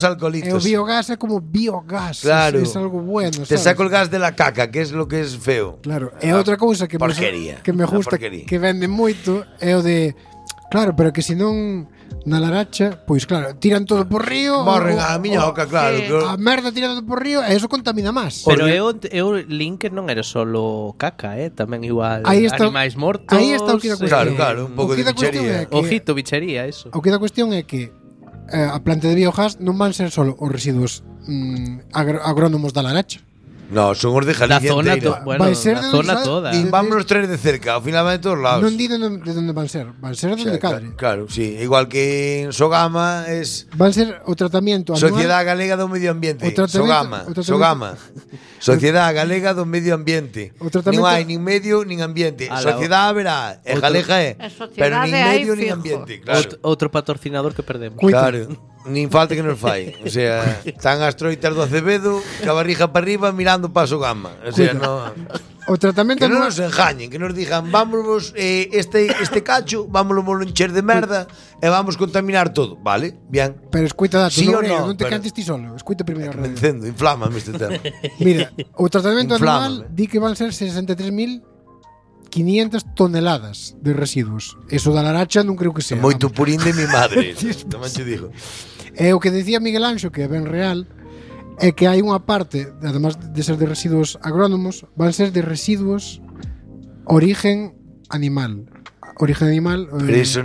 alcoholitos. E o biogás é como biogás. Claro. Es algo bueno, Te sabes? saco el gas de la caca, que es lo que es feo. Claro. E outra cousa que Porquería. que me gusta Porquería. que vende moito é o de claro, pero que se non na Laracha, pois claro, tiran todo por río. Morren a miñoca, claro. sí. A merda tira todo por río e eso contamina máis. Pero eu link non era solo caca, tamén igual Aí está- animais mortos. aí está o que da cuestión. Claro, un pouco O que de da cuestión bichería. é que- Ojito, bichería, eso. O que da cuestión é que a planta de biogás non van ser solo os residuos agrónomos da Laracha. No, son os de Da Galicia zona, inteira. bueno, Vai ser da de zona onde toda. sale- Nin vámonos traer de cerca, ao final van de todos lados. Non di de onde van ser de cadre. Claro, sí. Igual que en Sogama es Van ser o tratamento anual. Sociedade Galega do Medio Ambiente. O tratamento- Sogama. Sociedade Galega do Medio Ambiente. O tratamento- Non hai nin medio nin ambiente. Ala, Sociedade haberá, e outro- galega é, A sociedade pero nin hai medio nin fijo. ambiente, claro. Outro patrocinador que perdemos. Cuita. Claro. Nin falta que nos fai. O sea, están as troitas do Acevedo, ca barriga para arriba mirando para Sogama. O sea, Cuita. no O tratamento que non anual. nos engañen, que nos digan, vámonos este cacho, vámonos encher de merda e vamos contaminar todo, vale? Bien. Pero escuita dato, Sí no, ou no, non te pero- cantes ti solo. Escuita primeiro. Me encendo, inflámame este tema. Mira, o tratamento Inflámame. anual di que van ser 63.500 toneladas de residuos. Eso da Laracha non creo que sea. Moito vamos. purín de mi madre. Tamén te digo. E o que decía Miguel Anxo, que é ben real, é que hai unha parte, además de ser de residuos agrónomos, van ser de residuos origen animal. Origen animal. Pero eso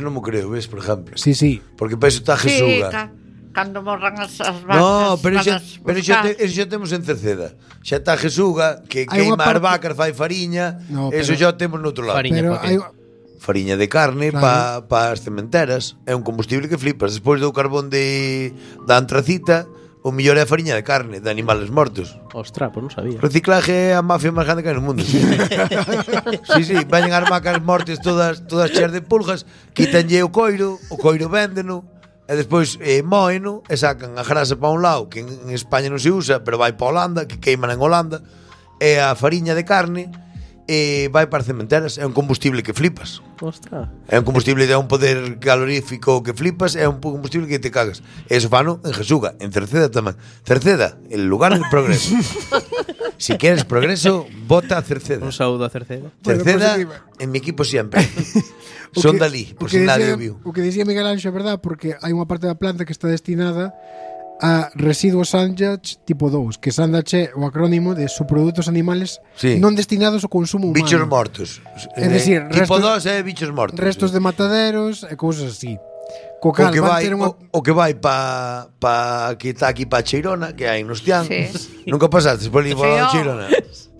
non me creo, ves, por ejemplo. Sí, sí. Porque para eso está Sí, Jesuga. cando morran as vacas. No, pero van eso xa temos en Cerceda. Xa está Jesuga, que Hai unha queima as parte- vacas, fai fariña. No, Eso pero- xa o temos noutro lado. Fariña. Pero pa qué? hai Fariña de carne Claro. para as cementeras. É un combustible que flipas. Despois do carbón da antracita, o mellor é a fariña de carne, de animales mortos. Ostras, pues non sabía. Reciclaje é a mafia máis grande que hai no mundo. Sí, vayan as vacas mortes todas cheas de pulgas, quítanlle o coiro véndeno, e despois moeno e sacan a grasa para un lado, que en España non se usa, pero vai para Holanda, que queiman en Holanda, e a fariña de carne vai para as cementeras, é un combustible que flipas. Ostras. É un combustible de un poder calorífico que flipas, é un combustible que te cagas. Eso fano en Jesuga, en Cerceda tamén. Cerceda, el lugar del progreso. Si quieres progreso, vota a Cerceda. Un saúdo a Cerceda. Cerceda, Bueno, pues, en mi equipo siempre. O Son que- Dalí, por o que si nadie decía- o viu. O que dicía Miguel Anxo é verdad, porque hai unha parte da planta que está destinada a residuos Sandage tipo 2, que Sandage é o acrónimo de subprodutos animales Sí. non destinados ao consumo humano. Bichos mortos. É dicir, tipo restos- 2 é bichos mortos. Restos de mataderos e cousas así. Co O cal que van vai, ter unha... o que vai pa que está aquí pa Cheirona, que hai nos Tian. Sí. Nunca pasaste por ali por Sí, la oh. Cheirona.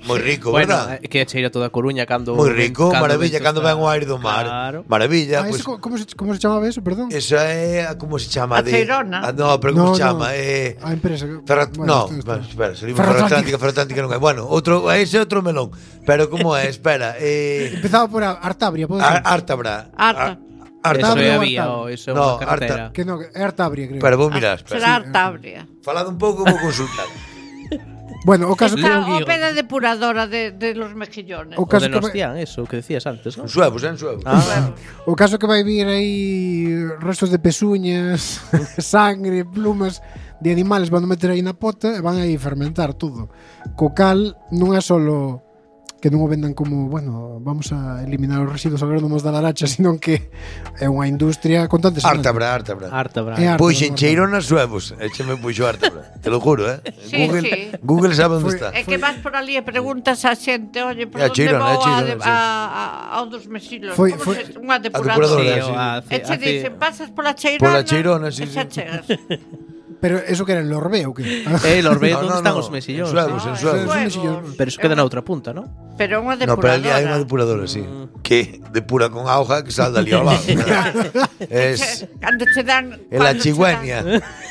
Moi rico, Bueno, verdad? que cheira toda a Coruña cando Moi rico, maravilla, vento cando está- ven o aire do mar. Claro. Maravilla, Ah, pues, ese como se chamaba eso, perdón? esa é como se chama A Cheirona. no, pero como No, se chama? A empresa. No, Bueno, espera, salimos Ferroatlántica non hai. Bueno, ese é outro melón. Pero como é? Espera, Empezaba por Artabria, pode ser? Artabra. Arta. Eso Artabria é ou vía, Artabria? eso é No, unha carretera. Que no, é Artabria, creo. Espera, vou mirar, espera. Será Artabria. Falado un pouco, vou consultar. Bueno, o caso que Está Leo o Guigo. pé da depuradora de los mejillones. o O caso de que vai, Nostián, eso que decías antes, ¿no? En suevos, en suevos. Ah, o caso que vai vir aí restos de pezuñas, sangre, plumas de animales van a meter aí na pota e van aí fermentar todo. Co cal non é solo que non o vendan como, bueno, vamos a eliminar os residuos agrónomos da Laracha, senón que é unha industria con tantas Artabra. harta, bravo. É harta, Puxen normal. Cheirona suevos. Écheme puxo Artabra. Te lo juro, Sí, Google, sí. Google sabe onde Foi- está. É que vas por ali e preguntas á xente, oye, por É a onde Cheirona, vou é a Cheirona, sí. ao dos mexilos? Foi- Como foi- se- unha depuradora, depuradora. sí. E che dicen, pasas pola Cheirona, Pola Cheirona, sí, e xa sí. chegas. Pero eso que era en Lorbe ou que? Los ves No, onde no, están no. os mexillóns. En suevos, sí. en suevos. Suevos. Pero eso queda na outra punta, ¿no? Pero unha No, pero ali hai depuradora. unha depuradora, sí. Que depura con auga que sal dali ao lado. Es Cando che dan... en la cando che chigüeña.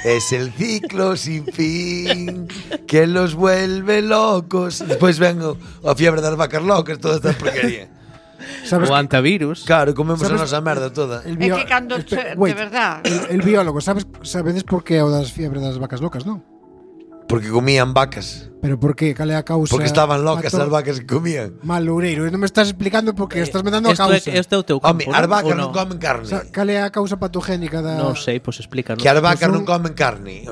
Es el ciclo sin fin que los vuelve locos. Despois ven a fiebre das vacas locas, toda esta porquería. Sabes O antivirus. Claro, comemos a ¿Sabes? nosa merda toda. el É que cando che, de wait, verdad. el biólogo, sabedes por que é o das fiebres das vacas locas, non? Porque comían vacas. Pero por qué? Cal é a causa? Porque estaban locas Matou- as vacas que comían. Mal, Loureiro, non me estás explicando porque estás me dando a causa. Este é o teu campo, Home, as vacas ou non comen O carne. sea, cal é a causa patogénica da... Non sei, pois explícanos. Que as vacas Pois non comen carne.